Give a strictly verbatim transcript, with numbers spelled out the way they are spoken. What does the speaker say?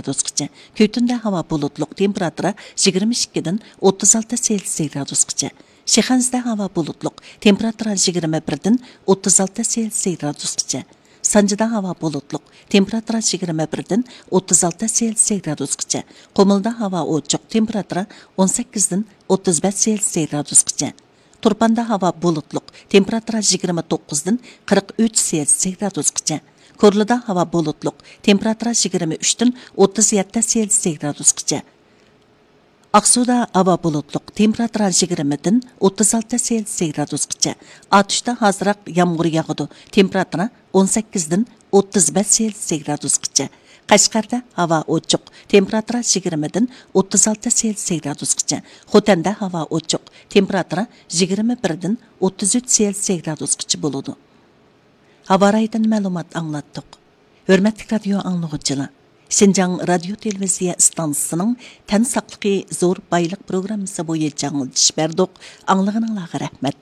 گرادۇسقىچە. كۈيتۇندا ھاۋا بۇلۇتلۇق، تېمپېراتۇرا يىگىرمە ئىككىدىن ئوتتۇز ئالتە سېلسىيە گرادۇسقىچە. شىخەنزىدە ھاۋا بۇلۇتلۇق، تېمپېراتۇرا يىگىرمە بىردىن ئوتتۇز ئالتە سېلسىيە گرادۇسقىچە. سانجىدا ھاۋا بۇلۇتلۇق، تېمپېراتۇرا يىگىرمە بىردىن ئوتتۇز ئالتە سېلسىيە گرادۇسقىچە. قۇمۇلدا ھاۋا ئوچۇق، تېمپېراتۇرا ئون سەككىزدىن ئوتتۇز بەش سېلسىيە گرادۇسقىچە. تۇرپاندا ھاۋا بۇلۇتلۇق، تېمپېراتۇرا يىگىرمە توققۇزدىن قىرىق ئۈچ سېلسىيە گرادۇسقىچە. كورلىدا ھاۋا بۇلۇتلۇق، تېمپېراتۇرا يىگىرمە ئۈچتىن ئوتتۇز يەتتە سېلسىيە گرادۇسقىچە. ئاقسۇدا ھاۋا بۇلۇتلۇق، تېمپېراتۇرا يىگىرمىدىن ئوتتۇز ئالتە سېلسىيە گرادۇسقىچە. ئاتۇشتا ئازراق يامغۇر ياغىدۇ، تېمپېراتۇرا ئون سەككىزدىن ئوتتۇز بەش سېلسىيە گرادۇسقىچە. قەشقەردە ھاۋا ئوچۇق، تېمپېراتۇرا يىگىرمىدىن ئوتتۇز ئالتە سېلسىيە گرادۇسقىچە. خوتەندە ھاۋا ئوچۇق، تېمپېراتۇرا يىگىرمە بىردىن ئوتتۇز ئۈچ سېلسىيە گرادۇسقىچە بولىدۇ. ھاۋا رايىدىن مەلۇمات ئاڭلاتتۇق. ھۆرمەتلىك رادىيو ئاڭلىغۇچىلار، شىنجاڭ رادىيو تېلېۋىزىيە ئىستانسىسىنىڭ تەن ساقلىقى زور بايلىق پروگراممىسى بويىچە ئاڭلىتىش بەردۇق. ئاڭلىغىنىڭلارغا رەھمەت.